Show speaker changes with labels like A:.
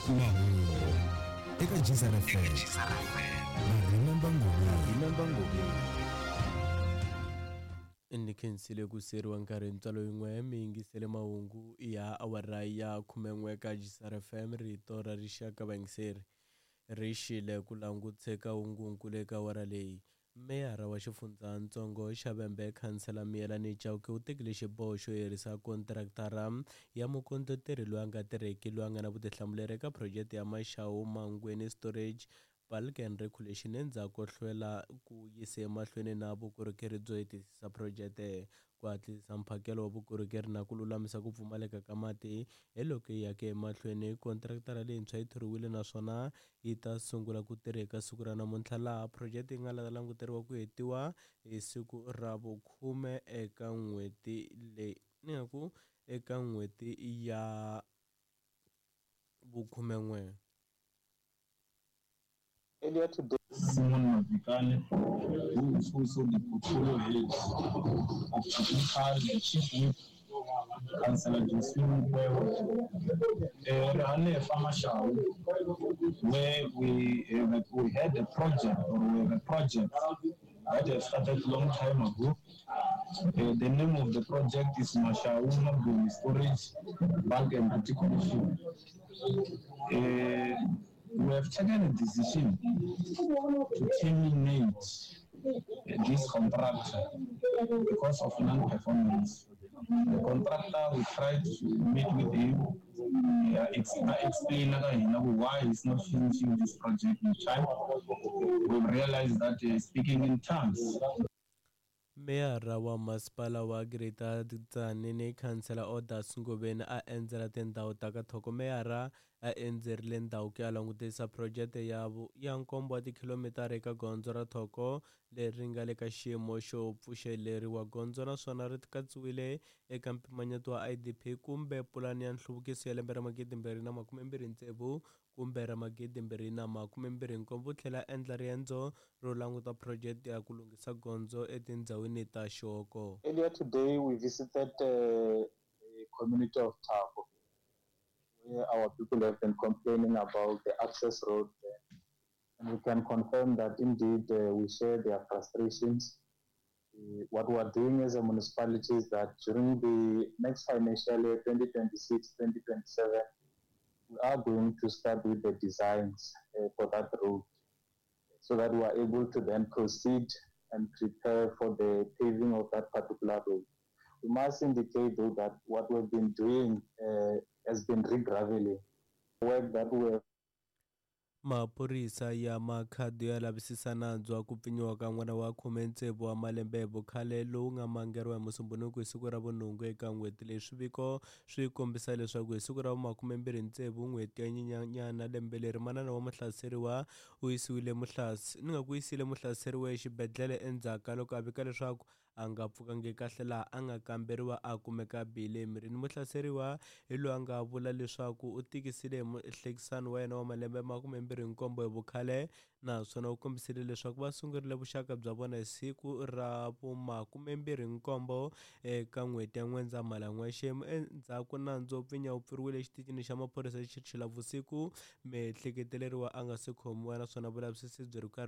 A: Mahungu eka Gzar FM na Remember Ngobeni.
B: Ni khensile ku siyeriwa nkarhi hi ntswalo yin'we mi yingisele mahungu ya awara ya 11 ka Gzar FM rito ra rixaka vayingiseri ri xile ku languteka hungunkulu eka awara leyi. Meyara wa xifundzatsongo xa Vhembe Khansela Miyelani Chauke u tekile xiboho xo herisa kontirakitara ya mukondleteri loyi a nga tirheki loyi a nga na vutihlamuleri eka phurojeke ya Mashau Mangweni Storage Bulk and Regulation endzhaku ko hlwela ku yisa emahlweni na vukorhokeri byo hetisisa phurojeke, ku hatlisisa mphakelo wa vukorhokeri na ku lulamisa ku pfumaleka ka mati. Hi loko yi yaka emahlweni, kontirakitara leyintshwa yi thoriwile naswona yi ta sungula ku tirha eka siku ra namuntlha laha phurojeke yi nga languteriwa ku hetiwa hi siku ra vukhume eka n'hweti leyi ni nga ku eka n'hweti ya vukhumen'we.
C: Earlier today,
D: Simon Mavikane, who is also the portfolio head of Technical, the Chief Whip, Councillor Josephine Mkwewe, Rehane Mashau, where we had a project, or we have a project that has started long time ago. The name of the project is Mashau Mangweni Storage Bulk and Reticulation. We have taken a decision to terminate this contractor because of non-performance. The contractor, we tried to meet with him, explain why he's not finishing this project in time. We realized that speaking in terms.
B: Meyara wa masipala wa Greater Tzaneen Khansela Odas Ngobeni a endzela tindhawu ta ka Thoko. Meyara a endzerile ndhawu ku ya langutisa phurojeke ya nkombo wa tikhilomitara eka gondzo ra Thoko leri nga le ka xiyimo xo pfuxeleriwa gondzo naswona ri katsiwile eka mpimanyeto wa IDP kumbe pulani ya nhluvukiso ya lembe ra 2026 kumbe ra 2027. U tlhela a endla riendzo ro languta phurojeke ya ku lunghisa gondzo etindhawini ta Xihoko.
C: Earlier today, we visited the community of Thabo, where our people have been complaining about the access road there. And we can confirm that indeed we share their frustrations. What we are doing as a municipality is that during the next financial year, 2026-2027, we are going to start with the designs for that road, so that we are able to then proceed and prepare for the paving of that particular road. We must indicate though that what we've been doing has been regraveling, work that we have.
B: Maphorisa ya Makhado ya lavisisa nandzu wa ku pfinyiwa ka n'wana wa 16 wa malembe hi vukhale lowu nga mangariwa hi Musumbhunuku hi siku ra vunhungu eka n'hweti leyi. Swiviko swi kombisa leswaku hi siku ra vu26 n'hweti ya Nyenyanyana lembe leri, manana wa muhlaseriwa u yisiwile yisile muhlaseriwa exibedhlele endzhaku ka loko a vika leswaku a nga pfukangi kahle laha a nga kamberiwa a kumeka bile emirini. Muhlaseriwa hi loyi a nga vula leswaku u tikisile hi muhlekisani wa yena wa malembe 27 hi vukhale naswona u kombisile leswaku va sungurile vuxaka bya vona hi siku ra vu27 eka n'hweti ya N'wendzamhala n'waxemu. Endzhaku nandzu wo pfinya wu pfuriwile exitichini xa maphorisa xi tlhela vusiku, miehleketeleriwa a nga se khomiwa naswona vulavisisi byi ri karhi.